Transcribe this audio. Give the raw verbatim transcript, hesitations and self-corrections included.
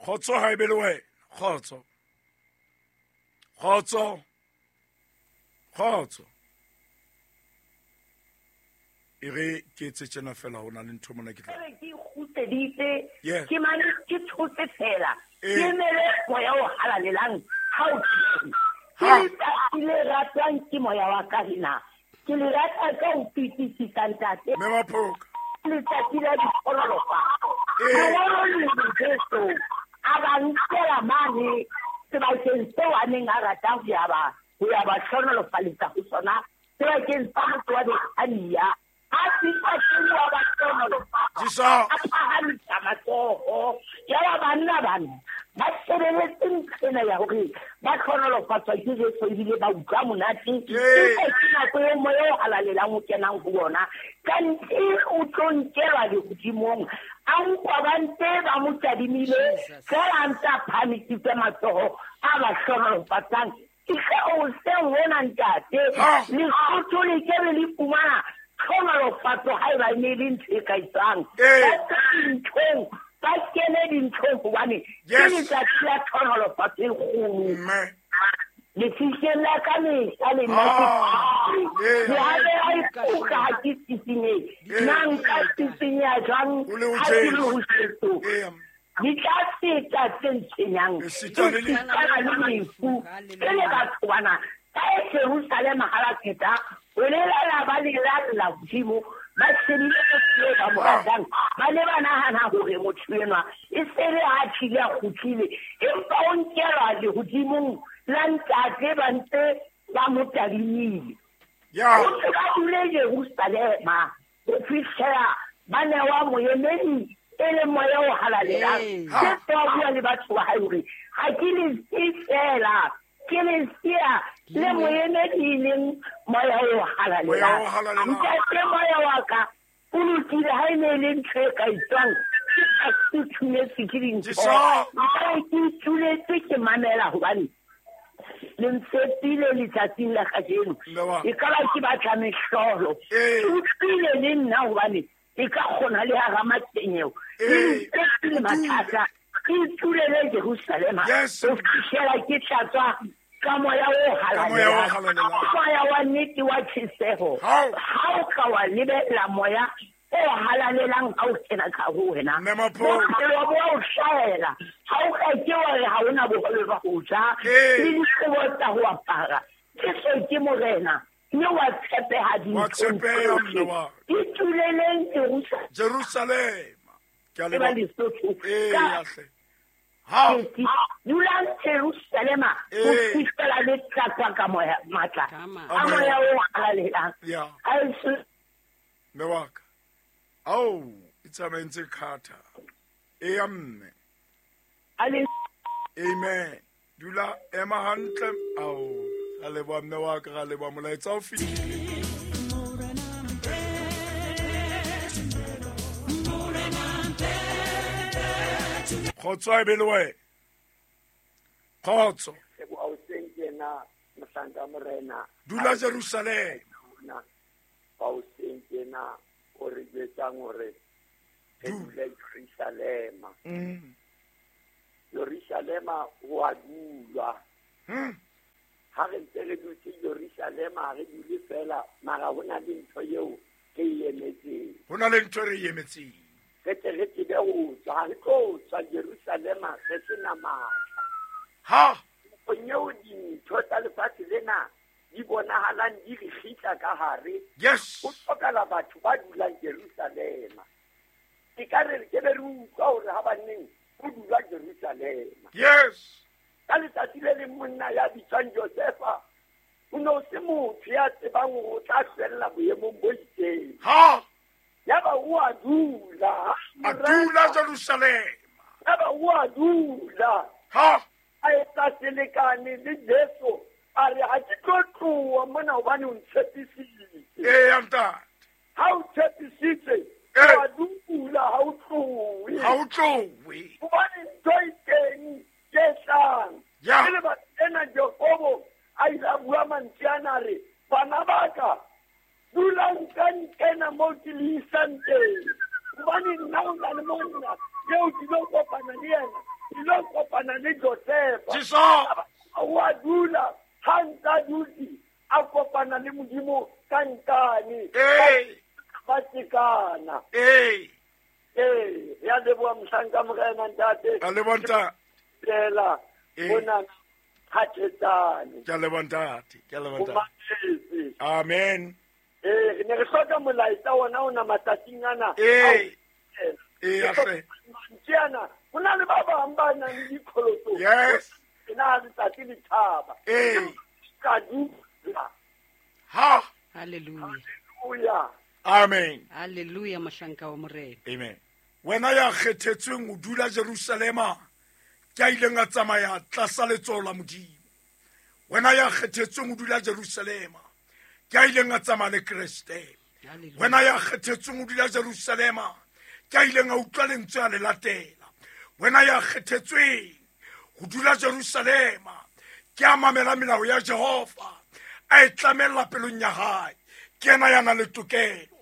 Khotso ha ebe le wena. Khotso. Khotso. Khotso. E re ke etse tjena fela ho na le ntho mona ke tla. Ke kgutseditse ke mane ke thotse fela. Ke mele moya o halalelang ha o ke letsatsi le ratwang ke moya wa ka lena. Ke le rata ka ho fetisisa ntate. Mme Maphoka. Letsatsi la ditlhonolofatso. Mongolo le Jesu a ba nkela mane sebakeng seo a neng a rata ho ya ba ho ya ba hlonolofaletsa ho sona sebakeng sa motho wa Bethania. A fihla teng wa ba hlonolofatsa. A phahamisa matsoho. Yaba banna bana ba shebeletse ntho ena ya hore ba hlonolofatswa ke Jesu ebile ba utlwa monate. Empa ke nako eo moya o halalelang o kenang ho bona. Kanthe o tlo nkelwa lehodimong. A nkwa ba ntse ba mo tadimile fela a ntse a phahamisitse matsoho a ba hlonolofatsang. Ke ge o seng hona ntate. Lesotho le ke be le fumana tlhonolofatso ha eba e ne le ntho e ka etsang. Ba tswe dinthong, ba kene dinthong hobane ke letsatsi la tlhonolofatso e kgolo. Lefihleng la ka mehla le nna ke le ha be a ikutlwa ha ke sisinyehe. Nna nka sisinyeha jwang ha ke le ho Jesu? Di tla feta tse ntshwenyang, esitana le lefu. Ke le batho bana ba e Jerusalema ha ba feta ho lelala ba lelalla hodimo, ba shebile motho eo ba mo ratang, ba ne ba nahana hore motho enwa e se le ha tlile a kgutlile, empa o nkelwa lehodimong la ntate ba ntse ba mo tadimile. O ntse ba dule Jerusalema ho fihlela ba newa moemedi e le moya o halalelang. Jesu a bua le batho ba hae hore ha ke le siye fela, ke le siya le moemedi e leng moya o halalelang. Ntate moya wa ka o lokile ha e ne e le ntho e ka etswang, ke sa futhumetse ke dintho. Nka ke ituletse ke mamela hobane le ntshepile letsatsing la kajeno. E ka ba ke batla mehlolo. Ke utlwile le nna hobane e ka kgona le hara matshwenyeho. Le ntshepile mathata. Ke itulele Jerusalema ho fihlela ke tlatswa ka moya o halalelang. Moya wa nnete wa tjheseho. Ha o ka wa lebella moya o halalelang ha o kena ka ho wena, bophelo bo a o hlahela. Ha o ka ke wa re ha hona bohobe ba ho ja le dikobo tsa ho apara. Jesu ke Morena mme wa tshepeha dinthong tsohle. Ituleleng Jerusalema. Ke a leboha. Ee, hle. Ha dulang Jerusalema ho fihlela le tlatswa ka moya matla a moya o halalelang. Mme wa ka. Ao, e tsamaye ntse khatha. Eya mme. Amen. Dula ema hantle. Ao, ra leboha mme wa ka, ra leboha molaetsa o fihlile. Khotso a be le wena. Khotso. Dula Jerusalema. O re jwetsang hore re dule Jerusalema. Jerusalema ho a dulwa. Ha re ntse re dutse Jerusalema ha re dule fela, mara ho na le ntho eo re e emetseng. Ho na le ntho e re e emetseng. Re tle re tsebe ho tswa, ha re tlo tswa Jerusalema re sena matla. Ha nakong eo dintho tsa lefatshe lena di bonahalang di re kgitla ka hare. Yes. Ho hlokahala batho ba dulang Jerusalema. Ke ka re ke be re utlwa hore ha banneng ho dula Jerusalema. Yes. Ka letsatsi le leng monna ya bitswang Josefa o ne o se motho ya tsebang hore o tla hlwella boemong bo itseng. Ha. Yaba o a dula. A dula Jerusalema. Yaba o a dula. Ha. A etsa selekane le Jesu. A re ha ke tlo tloha mona hobane o ntshepisitse. Ee, ntate. Ha o tshepisitse, wa dula ha o tlohe. Ha o tlohe. Hobane ntho e teng ke tlang. Ya. Ke lebaka lena Jakobo a ile a bua mantswe ana a re, bana ba ka, dulang ka nkena moo ke le isang teng. Hobane nna ho na le monna eo ke tlo kopana le yena, ke tlo kopana le Josefa. Jesu. Wa dula ha ntsa dutse a kopana le Modimo ka nkane. Ee. Ba tsekana. Ee. Ee, ya leboha mohlanka Morena ntate. A leboha ntate. Fela bona khathetsane. Ke a leboha ntate. Ke a leboha ntate. Amen. Ee, re ne re hloka molaetsa ona ona matsatsing ana. Ee. Ee, ahle. Mantswe ana, ho na le ba bang ba nang le dikholoto. Yes. Ke na letsatsi le thaba. Ee. Ka dula. Ha. Hallelujah. Hallelujah. Amen. Hallelujah mohlanka wa Morena. Amen. Wena ya kgethetsweng ho dula Jerusalema, ke a ileng a tsamaya tlasa letsoho la Modimo. Wena ya kgethetsweng ho dula Jerusalema, ke a ileng a tsamaya le Kreste. Wena ya kgethetsweng ho dula Jerusalema, ke a ileng a utlwa lentswe a le latela. Wena ya kgethetsweng ho dula Jerusalema, ke a mamela melao ya Jehova, a e tlamella pelong ya hae. Ke yena ya nang le tokelo.